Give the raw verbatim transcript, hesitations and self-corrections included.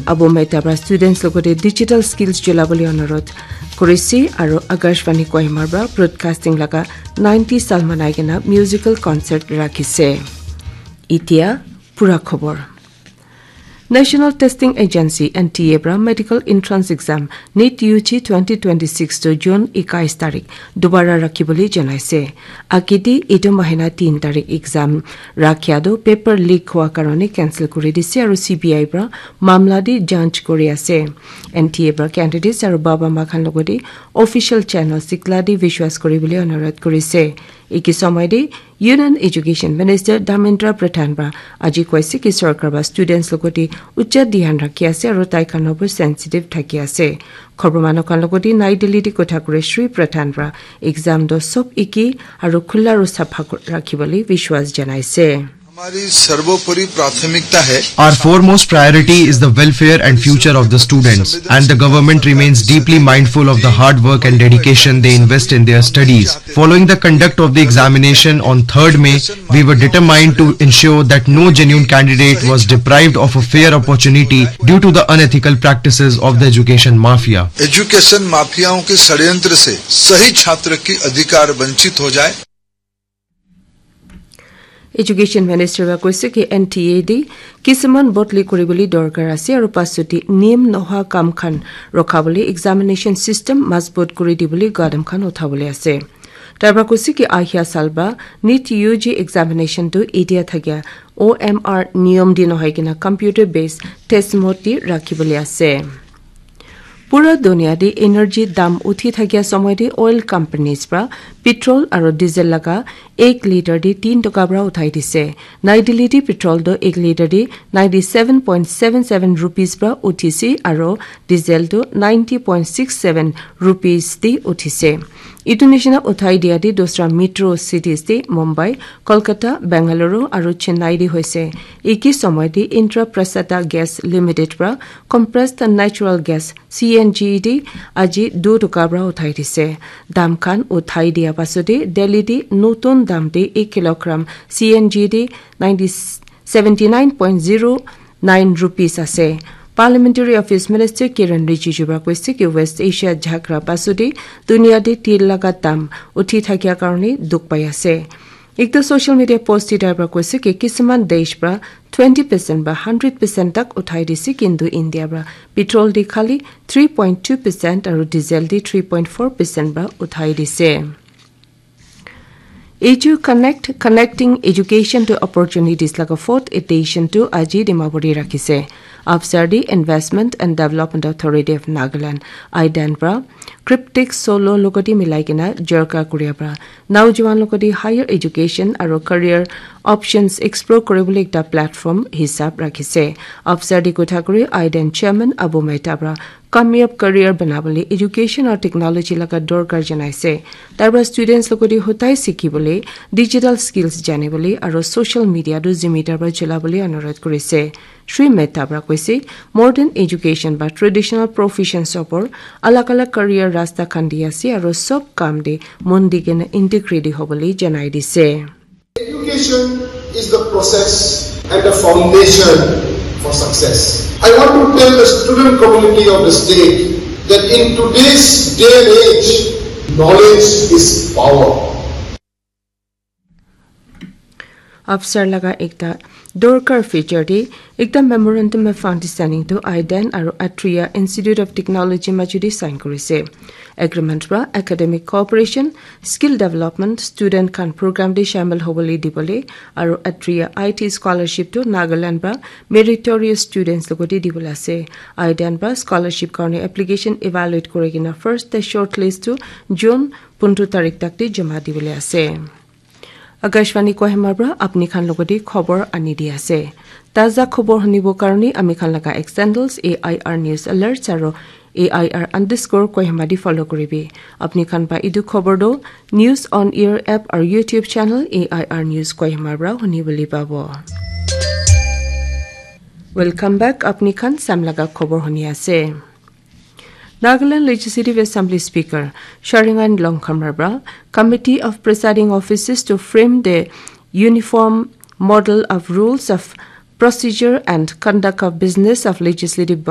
Abu Mehta pra students logote digital skills chulabole onurodh kurise aro Akashvani Kohima pra broadcasting laga ninety sal manai kena musical concert rakhise. Itia pura khobor. National Testing Agency, N T A, pra medical entrance exam NEET U G twenty twenty-six to June ekais tarik dubara rakhibole janaise. Agete etu mahina tin tarik exam rakhia tu paper leak hua karone cancel kuri dise aro C B I pra mamla de janch kuri ase. N T A pra candidates aro baba ma khan logote official channel sikla de vishwas kuri bole onurodh kurise. Eki somoy de Union Education Minister Dharmendra Pradhan pra aji koise ki sorkar ba students logote ucha dhyan rakhi ase aro tai khan obo sensitive thaki ase. Khobor manu khan logote Nai Delhi de kotha kure Shri Pradhan pra exam do sob eki aro khula aro sapha ko-, rakhi bole vishwas janaise. हमारी सर्वोपरि प्राथमिकता है। Our foremost priority is the welfare and future of the students, and the government remains deeply mindful of the hard work and dedication they invest in their studies. Following the conduct of the examination on third May, we were determined to ensure that no genuine candidate was deprived of a fair opportunity due to the unethical practices of the education mafia. एजुकेशन माफियाओं के षड्यंत्र से सही छात्र की अधिकार वंचित हो जाए। Education Minister wa koise ki N T A de kisuman bodli kuri bole dorkar ase aro pasot de niyam nohoa kam khan rokha bole examination system mazbut kuri di bole gadam khan utha bole ase. Tai pra koise ki ahia sal ba NEET U G examination tu etia thakia O M R niyom de nohoi kena computer based test mode de rakhi bole ase. Pura dunia de energy dam uthi thakia somoy de oil companies pra petrol aro diesel laga ek liter de tin toka pra uthai dise. Nai Delhi de petrol do ek liter de ninety seven point seven seven rupees pra uthise aro diesel do ninety point six seven rupees de uthise. Etu nishina uthai dia de dusra metro cities de Mumbai, Kolkata, Bengaluru aro Chennai de hoise. Eki somoy de Indraprastha Gas Limited pra compressed natural gas C N G de aji du toka pra uthai dise. Dam khan uthai dia pasot de Delhi de notun dam de ek kilogram C N G de ninety, seventy nine point zero nine rupees ase. Parliamentary Office Minister Kiren Rijiju pra koise ki West Asia jhagra pasot de dunia de tel laga dam uthi thakia karone dukh pai ase. Ekta social media post de tai pra koise ki kisuman desh pra twenty percent ba hundred percent tak uthai dise, kintu India pra petrol de khali three point two percent aro diesel de three point four percent ba uthai dise. Edu Connect, Connecting Education to Opportunities laga fourth edition tu aji Dimapur te rakhise. Afsar de Investment and Development Authority of Nagaland, IDAN pra Cryptic Solo logoti milai kena jorka kuria pra naujuan logoti higher education aro career options explore kuribole ekta platform hisab rakhise. Afsar de kotha kuri IDAN chairman Abu Mehta pra kamyab career banabole education aru technology laga dorkar janaise. Tai pra students logoti hotai sikhibole, digital skills janibole aru social media tu zimidar pra cholabole anurodh kurise. Shri Mehta pra koise, modern education ba traditional professions opor alag alag career rasta khan di ase aru sob kam de mon di kena integrity hobole janai dise. Education is the process and the foundation for success. I want to tell the student community of the state that in today's day and age, knowledge is power. Afsar laga ekta dorkar feature de ekta memorandum of understanding tu IDAN aru Atria Institute of Technology majudi sign kurise. Agreement pra academic cooperation, skill development, student khan program de shamil hobole dibole aru Atria IT scholarship tu Nagaland pra meritorious students logoti dibole ase. IDAN pra scholarship karone application evaluate kuri kena first te shortlist tu June pundu tarik tak de jama dibole ase. Akashvani Kohima pra apni khan logoti khobor ani di ase. Taza khobor hunibo karone ami khan laga X handles A I R News Alerts aru A I R underscore Kohima di follow kuribi. Apni khan pa edu khobor do News on Air app aru YouTube channel A I R News Kohima pra hunibole pabo. Welcome back. Apni khan sam laga khobor huni ase. Nagaland Legislative Assembly Speaker Sharingan Longkhamra pra Committee of Presiding Officers to frame the uniform model of rules of Procedure and Conduct of Business of Legislative